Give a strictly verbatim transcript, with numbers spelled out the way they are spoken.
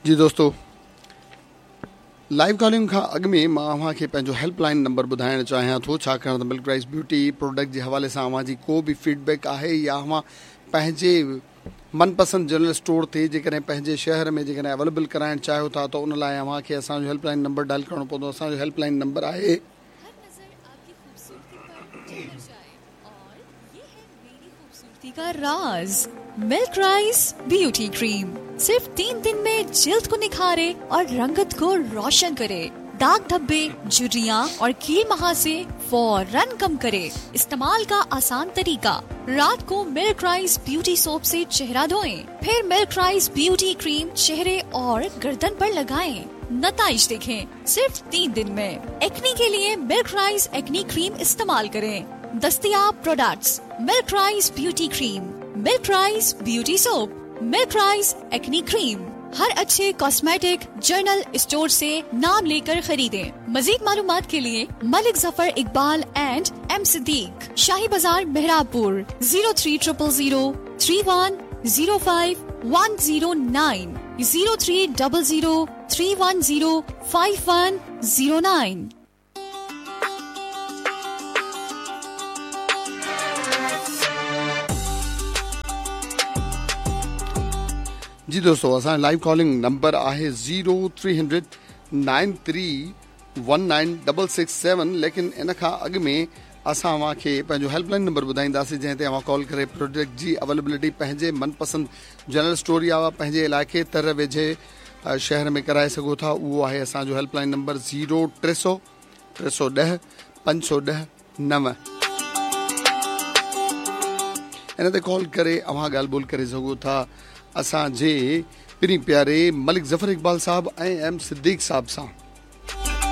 जी दोस्तों, live calling खां अॻु में मां अव्हां खे पंहिंजो हेल्पलाइन नंबर ॿुधाइणु चाहियां थो, छाकाणि त मिल्क राइस ब्यूटी प्रोडक्ट जे हवाले सां अव्हां जी को बि फीडबैक आहे या अव्हां पंहिंजे मनपसंद जनरल स्टोर ते जेकॾहिं पंहिंजे शहर में जेकॾहिं अवेलेबल कराइणु चाहियो था त उन लाइ अव्हां खे असांजो हेल्पलाइन नंबर डायल करिणो पवंदो। असांजो हेल्पलाइन नंबर आहे हर नजर आपकी खूबसूरती पर ठहर जाए और ये है मेरी खूबसूरती का राज, मिल्क राइस ब्यूटी क्रीम। सिर्फ तीन दिन में जिल्द को निखारे और रंगत को रोशन करे, दाग धब्बे, झुर्रियाँ और कील महासे फौरन कम करे। इस्तेमाल का आसान तरीका, रात को मिल्क राइस ब्यूटी सोप से चेहरा धोएं, फिर मिल्क राइस ब्यूटी क्रीम चेहरे और गर्दन पर लगाएं। नताइज देखें सिर्फ तीन दिन में। एक्नी के लिए मिल्क राइस एक्नी क्रीम इस्तेमाल करें। दस्तियाब products milk rice beauty cream, milk rice beauty soap, milk rice acne cream. हर अच्छे कॉस्मेटिक जनरल स्टोर से नाम लेकर खरीदें। मजीद मालूमात के लिए मलिक जफर इकबाल एंड एम सिद्दीक, शाही बाजार Mehrabpur, zero three triple zero three one zero five one zero nine, zero three double zero three one zero five one zero nine. जी दोस्तों, असांजो लाइव कॉलिंग नंबर आहे zero three hundred nine three one nine double six seven. लेकिन इन खां अॻु में असां अव्हांखे पंहिंजो हेल्पलाइन नंबर ॿुधाईंदासीं, जंहिं ते अव्हां कॉल करे प्रोडक्ट जी अवेलेबिलिटी पंहिंजे मनपसंद जनरल स्टोर या पंहिंजे इलाइक़े तर वेझे शहर में कराए सघो था। उहो आहे असांजो हेल्पलाइन नंबर ज़ीरो टे सौ टे सौ ॾह पंज सौ ॾह नव। इन ते कॉल करे अव्हां ॻाल्हि ॿोल करे सघो था असांजे पिरीं प्यारे मलिक ज़फ़र इकबाल साहब ऐं एम सिद्दीक साहब सां।